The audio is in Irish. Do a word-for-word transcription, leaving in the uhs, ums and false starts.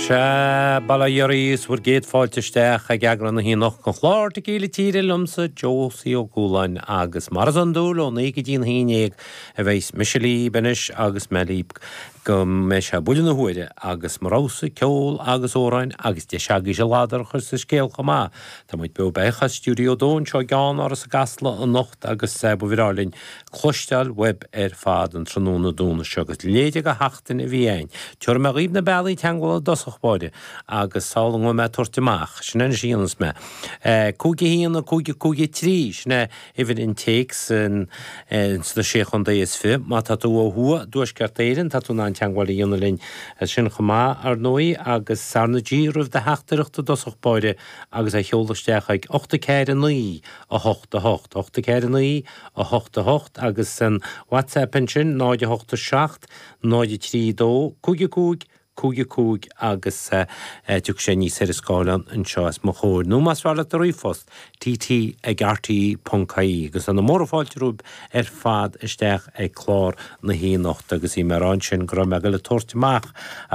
Sea, bail ó Dhia oraibh is bhur gcéad fáilte isteach ag eagrán na haon den chlár Tequila Tíre liomsa Josie Ó Cualáin agus mar is iondúil ó naoi go dtí an haon déag a bheidh mise libh anois agus mé libh go mbeidh sé buille na huaire agus mo rogha-sa ceol agus amhráin agus deis agaibhse ladar a chur sa scéal chomh maith. Tá muid beo beathach as stiúideo dó anseo i gceannáras i gCasla anocht agus ba bhreá linn cloisteáil uaibh ar fad an tráthnóna Domhnaigh seo agus leithéide de sheachtain a bhí ann. Tabharfaidh mé dhaoibh na bealaí teagmhála i dtosach báire agus sula ngabhfaidh mé ag tabhairt amach, sin anois a dhéanfas mé. Cúig a haon, a cúig, a cúig a trí, sin é uimhir an téacs sna Sé Chontae is Fiche. Má tá tú ó thuaidh i dTuaisceart Éireann, tá tú in ann teagmháil a dhéanamh linn as sin chomh maith, ar ndóigh, agus R na G roimh do theachtaireacht i dtosach báire agus é a sheoladh isteach ag ocht a ceathair a naoi, a hocht a hocht, ocht a ceathair a naoi, a hocht a hocht agus an WhatsApp ansin, náid a hocht a seacht, náid a trí dó, cúig a cúig, cúig a cúig agus tiocfaidh sé aníos ar an scáileán anseo os mo chomhair. Nó más fearr leat do ríomhphost, tt ag rte ponc ie agus tá na móra fáilte romhaibh ar fad isteach ag clár na haonacht agus bhí mé ag rá ansin go raibh mé ag dul ag tabhairt amach